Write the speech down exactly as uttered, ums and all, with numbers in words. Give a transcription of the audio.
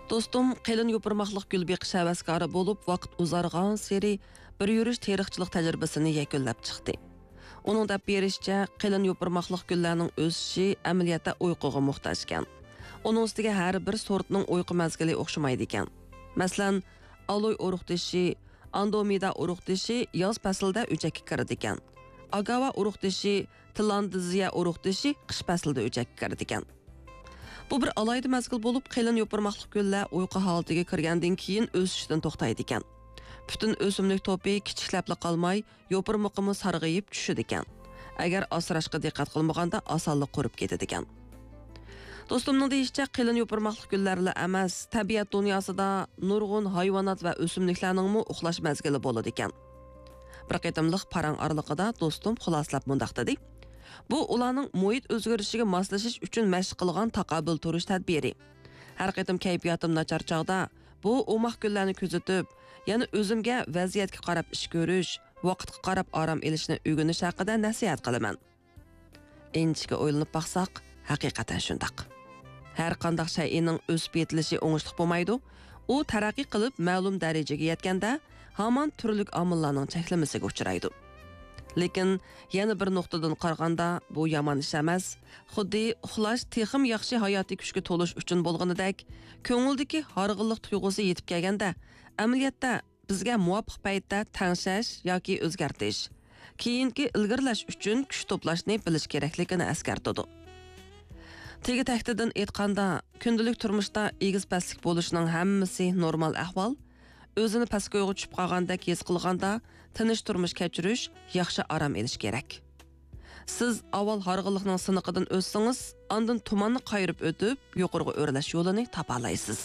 دوستۇم قېلىن يوپۇرماقلىق گۈل بېقىش ھەۋەسكارى بولۇپ، ۋاقىت ئۇزارغانسېرى بىر يۈرۈش تېرىقچىلىق تەجرىبىسىنى يەكۈنلەپ چىقتى. ئۇنىڭ دەپ بېرىشىچە، قېلىن يوپۇرماقلىق گۈللەرنىڭ ئۆسۈشى ئەمەلىيەتتە ئۇيقۇغا موھتاجكەن. ئۇنىڭ ئۈستىگە ھەر بىر سورتنىڭ ئۇيقۇ مەزگىلى ئوخشىمايدىكەن. مەسىلەن، ئالوي ئۇرۇق تېشى، ئاندومىدا ئۇرۇق تېشى ياز پەسلىدە ئۆچەككە كىرىدىكەن. ئاگاۋا ئۇرۇق تېشى، تىلاندىزىيە ئۇرۇق تېشى قىش پەسلىدە ئۆچەككە كىرىدىكەن. بۇ بىر ئالاھىدە مەزگىل بولۇپ، قېلىن يوپۇرماقلىق گۈللەر ئۇيقۇ ھالىتىگە كىرگەندىن كېيىن ئۆسۈشتىن توختايدىكەن. پۈتۈن ئۆسۈملۈك توپى كىچىكلەپلا قالماي، يوپۇرمىقىمۇ سارغىيىپ چۈشىدىكەن. ئەگەر ئاسراشقا دىققەت قىلمىغاندا، ئاسانلا قۇرۇپ كېتىدىكەن. دوستۇمنىڭ دېيىشىچە، قېلىن يوپۇرماقلىق گۈللەرلا ئەمەس، تەبىئەت دۇنياسىدا نۇرغۇن ھايۋانات ۋە ئۆسۈملۈكلەرنىڭمۇ ئۇخلاش مەزگىلى بولىدىكەن. بىر قېتىملىق پاراڭ ئارىلىقىدا دوستۇم خۇلاسىلەپ مۇنداق دېدى: «بۇ ئۇلارنىڭ مۇھىت ئۆزگىرىشىگە ماسلىشىش ئۈچۈن مەشىق قىلغان تاقابىل تۇرۇش تەدبىرى. ھەر قېتىم كەيپىياتىم ناچار چاغدا بۇ ئوماق گۈللەرنى كۆزىتىپ، يەنە ئۆزۈمگە ۋەزىيەتكە قاراپ ئىش كۆرۈش، ۋاقىتقا قاراپ ئارام ئېلىشنى ئۆگىنىش ھەققىدە نەسىھەت قىلىمەن.» ئىنچىكە ئويلىنىپ باقساق، ھەقىقەتەن شۇنداق. ھەر قانداق شەيئىنىڭ ئۆسۈپ يېتىلىشى ئوڭۇشلۇق بولمايدۇ. ئۇ تەرەققىي قىلىپ، مەلۇم دەرىجىگە يەتكەندە، ھامان تۈرلۈك ئامىللارنىڭ چەكلىمىسىگە ئۇچرايدۇ. لېكىن يەنە بىر نۇقتىدىن قارىغاندا، بۇ يامان ئىش ئەمەس. خۇددى ئۇخلاش تېخىمۇ ياخشى ھاياتىي كۈچكە تولۇش ئۈچۈن بولغىنىدەك، كۆڭۈلدىكى ھارغىنلىق تۇيغۇسى يېتىپ كەلگەندە، ئەمەلىيەتتە بىزگە مۇۋاپىق پەيتتە تەڭشەش ياكى ئۆزگەرتىش، كېيىنكى ئىلگىرىلەش ئۈچۈن كۈچ توپلاشنى بىلىش كېرەكلىكىنى ئەسكەرتىدۇ. تېگى تەكتىدىن ئېيتقاندا، كۈندىلىك تۇرمۇشتا ئېگىز پەسلىك بولۇشنىڭ ھەممىسى نورمال ئەھۋال. ئۆزىنى پەسكويغا چۈشۈپ قالغاندەك ھېس قىلغاندا، تىنچ تۇرمۇش كەچۈرۈش، ياخشى ئارام ئېلىش كېرەك. سىز ئاۋۋال ھارغىنلىقنىڭ سىنىقىدىن ئۆتسىڭىز، ئاندىن تۇماننى قايرىپ ئۆتۈپ، يۇقىرىغا ئۆرلەش يولىنى تاپالايسىز.